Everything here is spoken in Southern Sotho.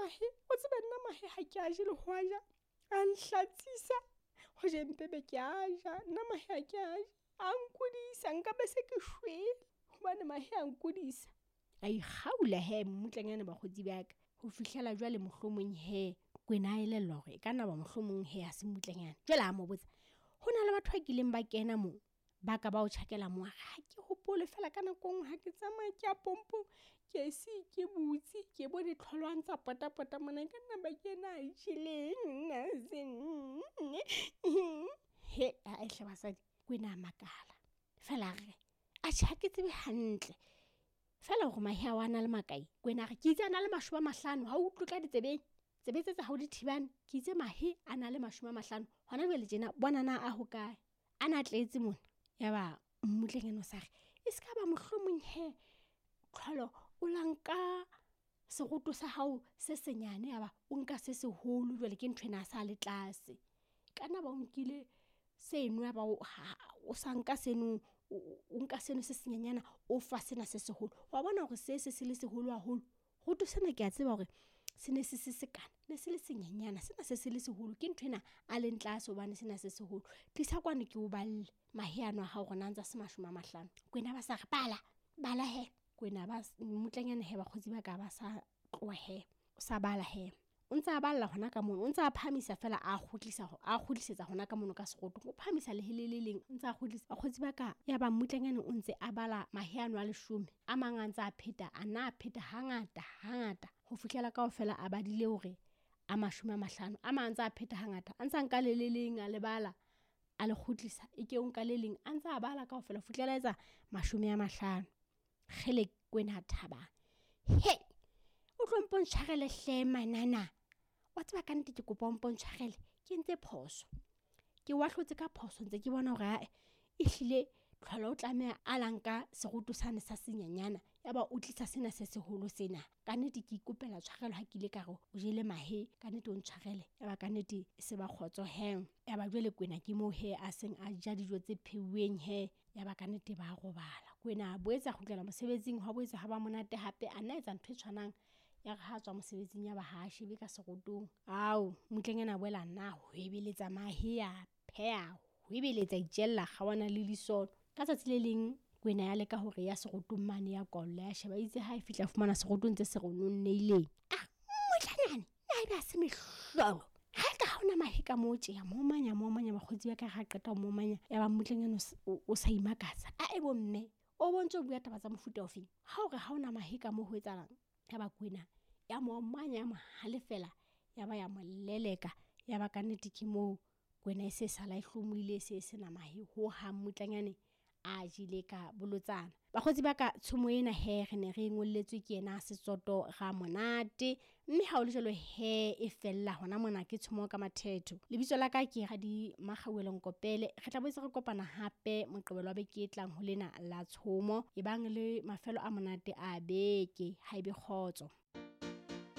mahe, o tsebe nna mahe ha ke a je le ho a ja, a nhlatsisa, ho je mpe be ke a ja, nna mahe ha ke a je, a nkudisa, nka be se ke shwele, hobane mahe a nkudisa. A ikgaula he mmutlanyane bakgotsi ba ka, ho fihlela jwale mohlomong he Kwena a elellwa hore e ka nna ba mohlomong he ha se mmutlanyane. Jwale a mo botsa, ho na le batho ba kileng ba kena moo, ba ka ba o tjhakela moo? A re, ha ke hopole fela ka nako e nngwe ha ke tsamaya ke ya pompong, ke se ke butse, ke bone tlholwang tsa potapota mona, e ka nna ba ke yena a jeleng nna se nne. He, ae hle basadi, Kwena a makala. Fela a re, atjhe ha ke tsebe hantle. Fela hore mahe ao a na le makae? Kwena a re, ke itse a na le 50, ha o utlwe ka ditsebeng. Tsebe tse tsa hao di thibane, ke itse mahe a na le 50. Hona jwale tjena bona na a hokae? A na tletse mona. Yaba mmutlanyane o sa re, e se ka ba mohlomong he tlholo o la nka seroto sa hao se senyane, yaba o nka se seholo, jwale ke ntho ena a sa le tlase. Ka nna ba o nkile seno, yaba o sa nka seno, o nka seno se senyenyana, o fa sena se seholo. Wa bona hore se se se le seholo haholo. Roto sena ke a tseba hore se ne se se sekana, ne se le senyenyana, sena se se le seholo, ke ntho ena a leng tlase hobane sena se seholo. Tlisa kwano ke o balle mahe ano a hao hore na ntse a se 50. Kwena ba sa re bala, bala he. Kwena ba mmutlanyane he bakgotsi ba ka ba sa tloha he, o sa bala he. O ntse a balla hona ka mono, o ntse a phahamisa fela a kgutlisa, a kgutlisetsa hona ka mono ka serotong. O phahamisa lehe le le leng, o ntse a kgutlisa. Bakgotsi ba ka, ya ba mmutlanyane o ntse a bala mahe ano a 10, a mang a ntse a pheta, a nna a pheta hangata, hangata, ho fihlela kaofela a badile hore a 50. A mang a ntse a pheta hangata, a ntse a nka le le leng a le bala, a le kgutlisa, e ke o nka le leng, a ntse a bala kaofela ho fihlela etsa 50. Kgele Kwena a thaba. He, o tlo mpontshwarele hle manana. Wa tseba ka nnete ke kopa o mpontshwarele, ke entse phoso. Ke wa hlotse ka phoso, ntse ke bona hore ae, ehlile tlholo o tlameha a la nka seroto sane sa senyenyana, yaba o tlisa sena se seholo sena. Ka nnete ke ikopela tshwarelo ha ke ile ka re o jele mahe, ka nnete o ntshwarele. Yaba ka nnete e se ba kgotso he. Yaba jwale Kwena ke moo he a seng a ja dijo tse pheuweng he. Yaba ka nnete ba robala. Kwena a boetse a kgutlela mosebetsing, hwa boetse ha ba monate hape, a nna etsa ntho e tshwanang. Ya re ha tswa mosebetsing ya ba ha shebe ka serotong. Ao, mmutlanyana a boela nna hwebeletsa mahe a pheha, hwebeletsa itjella kgawana le lisono. Ka tsatsi le leng Kwena ya leka hore ya serotong mane ya kolla, ya sheba itse ha e fihla fumana serotong tse se rononneileng. Ah, mmutlanyane, na ebe ha se mehlolo? Ha e ka ha hona mahe ka moo tje, ya momanya, momanya, bakgotsi ba ka ha qeta ho momanya, ya ba mmutlanyane o sa imakatsa. A e bo mme, o bontse o bua taba tsa mofuta ofeng? Ha o re ha hona mahe ka moo ho etsahalang? Ya ba Kwena ya momanya, ya mo halefela, ya ba ya mo leleka. Ya ba ka nnete ke moo Kwena e se sala e hlomohile, e se e sena mahe ho hang, mmutlanyane a jele ka bolotsana. Bakgotsi ba ka, tshomo ena he re ne re ngolletswe ke yena Setsoto Ramonate, mme ha o le jwalo he e fella hona mona ke tshomo ka mathetho. Lebitso la ka ke Radi Makgauwelo Nkopele. Re tla boetse re kopana hape Moqebelo wa beke e tlang ho lena la tshomo. Ebang le mafelo a monate a beke, ha ebe kgotso.